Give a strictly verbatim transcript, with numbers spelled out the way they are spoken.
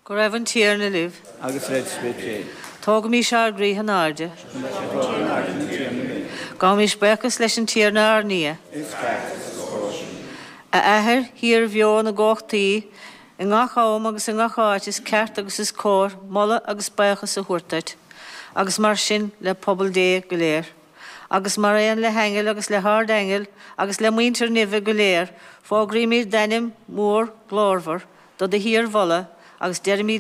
Go raibh an Tiarna libh. Agus le do spiorad féin. Tógaimis ár gcroíthe in airde. Gabhaimis buíochas leis an Tiarna ár nDia. Is ceart agus is cóir sin. A Athair, shíorbheo na gcumhachtaí, i ngach am agus i ngach áit is ceart agus is cóir moladh agus buíochas a thabhairt duit, agus mar sin le pobal Dé go léir. Agus mar aon le haingil agus le hardaingil agus le muintir neimhe go léir, fógraímid d'ainm mór glórmhar do do shíormholadh agus deirimid